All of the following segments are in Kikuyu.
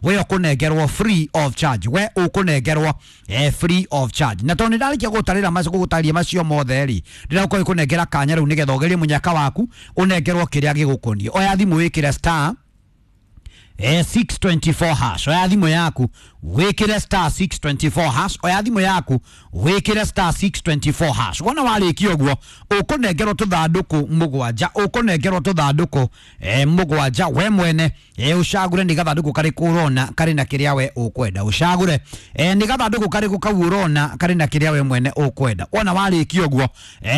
We ũkũnengerwo free of charge, we ũkũnengerwo free of charge. Na tondũ nĩndarĩkia gũtarĩra macio, gũgũtarĩria macio mothe rĩ, ndĩragũkorwo ikũnengera kanya rĩu nĩgetha ũgerie mũnyaka waku, ũnengerwo kĩrĩa gĩgũkoniĩ. Oya thimũ wĩkĩre star 624 hash. Oya thimũ yaku wĩkĩre star 624 hash. Oya thimũ yaku wĩkĩre star 624 hash. Wona warĩkia ũguo, ũkũnengerwo tũthandũkũ mũgwanja, ũkũnengerwo tũthandũkũ mũgwanja. We mwene ũcagũre nĩ gathandũkũ karĩkũ ũrona karĩ na kĩrĩa we ũkwenda. Ũcagũre nĩ gathandũkũ karĩkũ kau ũrona karĩ na kĩrĩa we mwene ũkwenda. Wona warĩkia ũguo,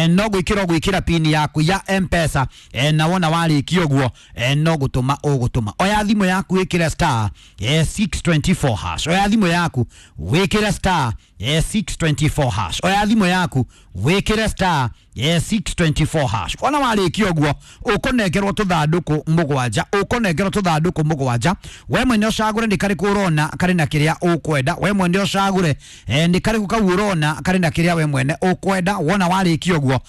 no gwĩkĩra ũgwĩkĩra pini yaku ya M-Pesa, na wona warĩkia ũguo, no gũtũma ũgũtũma. Oya thimũ yaku wĩkĩre star 624 hash. Oya thimũ yaku wĩkĩre star 624 hash. Oya thimũ yaku wĩkĩre star 624 hash. Wona warĩkia ũguo, ũkũnengerwo tũthandũkũ mũgwanja, ũkũnengerwo tũthandũkũ mũgwanja. We mwene ũcagũre nĩ karĩkũ ũrona karĩ na kĩrĩa ũkwenda. We mwene ũcagũre nĩ karĩkũ kau ũrona karĩ na kĩrĩa we mwene ũkwenda. Wona warĩkia ũguo,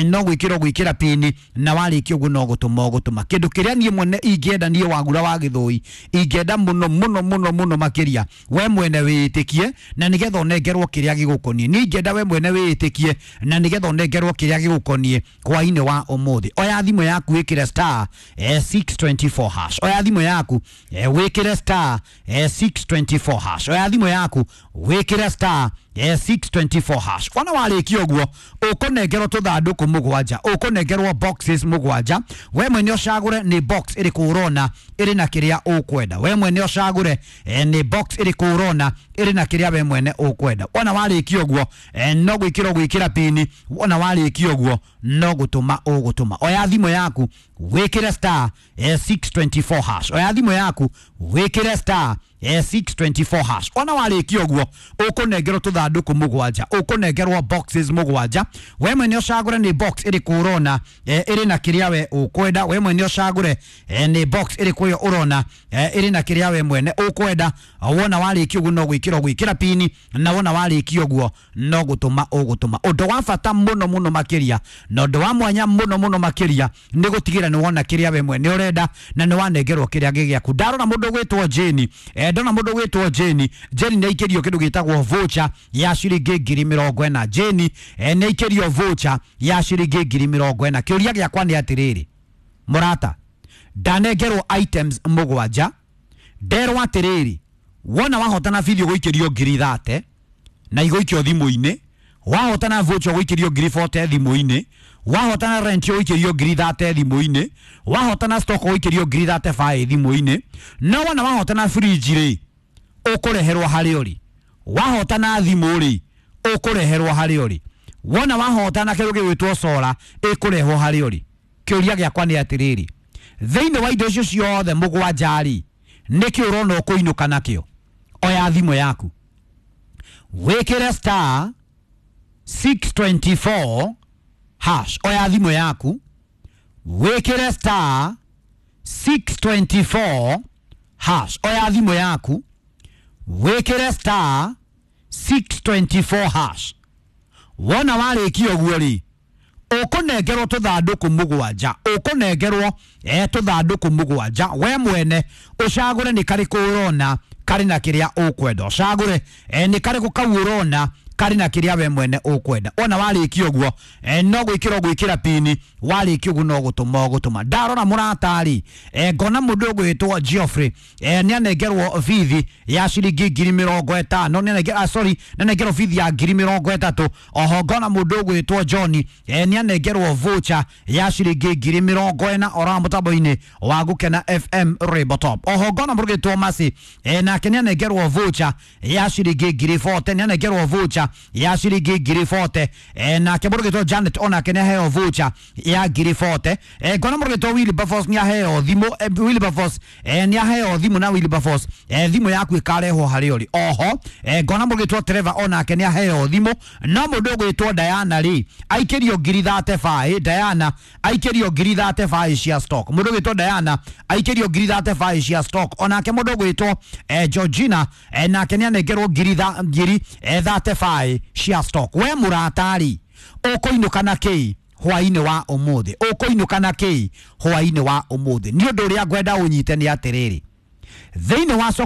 no gwĩkĩra ũgwĩkĩra pini, na warĩkia ũguo no gũtũma ũgũtũma. Kĩndũ kĩrĩa niĩ mwene ingĩenda, niĩ Wagura wa Gĩthũi, ingĩenda mũno mũno mũno mũno makĩria, we mwene wĩĩtĩkie na nĩgetha ũnengerwo kĩrĩa gĩgũkoniĩ. Niĩ ingĩenda we mwene wĩĩtĩkie na nĩgetha ũnengerwo kĩrĩa gĩgũkoniĩ hwainĩ wa ũmũthĩ. Oya thimũ yaku wĩkĩre star 624 hash. Oya thimũ yaku wĩkĩre star 624 hash. Oya thimũ yaku wĩkĩre star 624 hash. Wona warĩkia ũguo, ũkũnengerwo tũthandũkũ mũgwanja, ũkũnengerwo boxes mũgwanja. We mwene ũcagũre nĩ box ĩrĩkũ ũrona ĩrĩ na kĩrĩa ũkwenda. We mwene ũcagũre nĩ box ĩrĩkũ ũrona ĩrĩ na kĩrĩa we mwene ũkwenda. Wona warĩkia ũguo, no gwĩkĩra ũgwĩkĩra pini. Wona warĩkia ũguo, no gũtũma ũgũtũma. Oya thimũ yaku wĩkĩre star 624 hash. Oya thimũ yaku wĩkĩre star 624 hash. Wona warĩkia ũguo, ũkũnengerwo tũthandũkũ mũgwanja, ũkũnengerwo boxes mũgwanja. We mwene ũcagũre nĩ box ĩrĩkũ ũrona ĩrĩ na kĩrĩa we ũkwenda. We mwene ũcagũre nĩ box ĩrĩkũ ĩyo ũrona ĩrĩ na kĩrĩa we mwene ũkwenda. Wona warĩkia ũguo, no gwĩkĩra ũgwĩkĩra pini, na wona warĩkia ũguo, no gũtũma ũgũtũma. Ũndũ wa bata mũno mũno makĩria na ũndũ wa mwanya mũno mũno makĩria nĩ gũtigĩra nĩ wona kĩrĩa we mwene ũrenda na nĩ wanengerwo kĩrĩa gĩ gĩaku. Ndarora mũndũ ũgwĩtwo Jane, ndona mũndũ ũgwĩtwo Jane. Jane nĩ aikĩrio kĩndũ gĩtagwo voucher ya ciringi 40,000. Jane nĩ aikĩrio voucher ya ciringi 40,000. Kĩũria gĩakwa nĩ atĩrĩrĩ, mũrata, ndanengerwo items mũgwanja, nderwo atĩrĩrĩ, wona wahotana video gũikĩrio 30,000 na igũikio thimũ-inĩ, wahotana voucher gũikĩrio 40,000 thimũ-inĩ, wahotana rent gũikĩrio 30,000 thimũ-inĩ, wahotana stock gũikĩrio 35,000 thimũ-inĩ, no wona wahotana fridge rĩ, ũkũreherwo harĩa ũrĩ. Wahotana thimũ rĩ, ũkũreherwo harĩa ũrĩ. Wona wahotana kĩndũ gĩgwĩtwo solar, ĩkũrehwo harĩa ũrĩ. Kĩũria gĩakwa nĩ atĩrĩrĩ, thĩinĩ wa indo icio ciothe mũgwanja rĩ, nĩkĩ ũrona ũkũinũka nakĩo? Oya thimũ yaku wĩkĩre star 624 hash. Oya thimũ yaku wĩkĩre star 624 hash. Oya thimũ yaku wĩkĩre star 624 hash. Wona warĩkia ũguo rĩ, ũkũnengerwo tũthandũkũ mũgwanja, ũkũnengerwo tũthandũkũ mũgwanja. We mwene ũcagũre nĩ karĩkũ ũrona karĩ na kĩrĩa ũkwenda. Ũcagũre nĩ karĩkũ kau ũrona karĩ na kĩrĩa we mwene ũkwenda. Wona warĩkia ũguo, no gwĩkĩra ũgwĩkĩra pini. Warĩkia ũguo, no gũtũma ũgũtũma. Ndarora mũrata-rĩ, ngona mũndũ ũgwĩtwo Geoffrey nĩ anengerwo bithi ya ciringi 50,000, nĩ anengerwo, sorry, nĩ anengerwo bithi ya 30,000. Oho ngona mũndũ ũgwĩtwo John nĩ anengerwo voucher ya ciringi 40,000 ora mũtambo-inĩ wa Gũkena FM Rainbow Top. Oho ngona mũndũ ũgwĩtwo Mercy, nake nĩ anengerwo voucher ya ciringi 40,000, nĩ anengerwo voucher ya ciringi 40,000. Nake mũndũ ũgwĩtwo Janet onake nĩ aheo voucher ya 40,000. Ngona mũndũ ũgwĩtwo Wilberforce nĩ aheo thimũ, Wilberforce nĩ aheo thimũ, na Wilberforce, thimũ yaku ĩkarehwo harĩa ũrĩ. Oho ngona mũndũ ũgwĩtwo Trevor onake nĩ aheo thimũ, no mũndũ ũgwĩtwo Diana rĩ, aikĩrio 35,000. Diana aikĩrio 35,000 cia stock. Mũndũ ũgwĩtwo Diana aikĩrio 35,000 cia stock. Onake mũndũ ũgwĩtwo Georgina nake nĩ anengerwo 35,000 cia stock. We mũratari, ũkũinũka na kĩi hwainĩ wa ũmũthĩ? Ũkũinũka na kĩi hwainĩ wa ũmũthĩ? Nĩ ũndũ ũrĩa ngwenda ũnyite nĩ atĩrĩrĩ. Thĩinĩ wa soko.